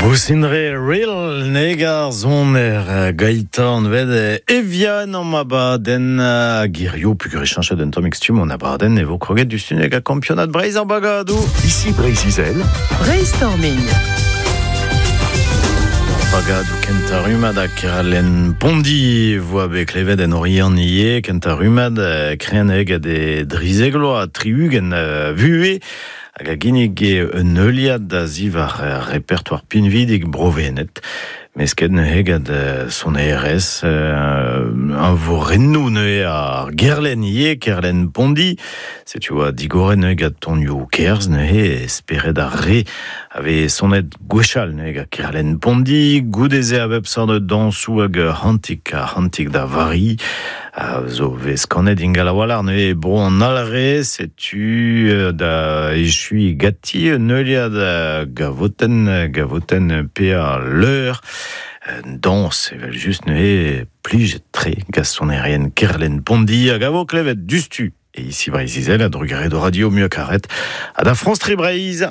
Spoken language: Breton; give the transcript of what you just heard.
Ousindre real negar zoner Gaëtan ved Evian an abadenn girio pugur e chanchet un tamm stumm an abadenn e vo kroget du stuneg a kampionad Breizh ar bagadoù. Ici Breizh-Izel. Brainstorming. Bagadoù kentañ rummad ha Kerlenn Pondi voa bet klevet en Oriant ivez kentañ rummad kreneg hag e drizegloa 60 vuhez hag a ginnige un heuliad da zivar repertoire pinvidik Bro-Wened. Mesket neuze gant sonerezh un vorennoù neuze ar Gerlenn ivez, Kerlenn Pondi. Setu oa digoret neuze gant tonioù kerzh neuze spered ar re a vez sonet gwechall neuze gant Kerlenn Pondi. Goude-se a bep seurt dañsoù hag c'hantik ha c'hantik da Vari a zo vez kanet ingal a-walc'h neuze bro an Alre. Setu da echuiñ ganti un heuliad gavotenn, gavotenn pe ar leur. Dañs evel just neuze plijet-tre gant sonerien Kerlenn Pondi hag a vo klevet diouzhtu e Ici Breizh-Izel a drugarez d'ho radio muiañ karet ha da France 3 Breizh.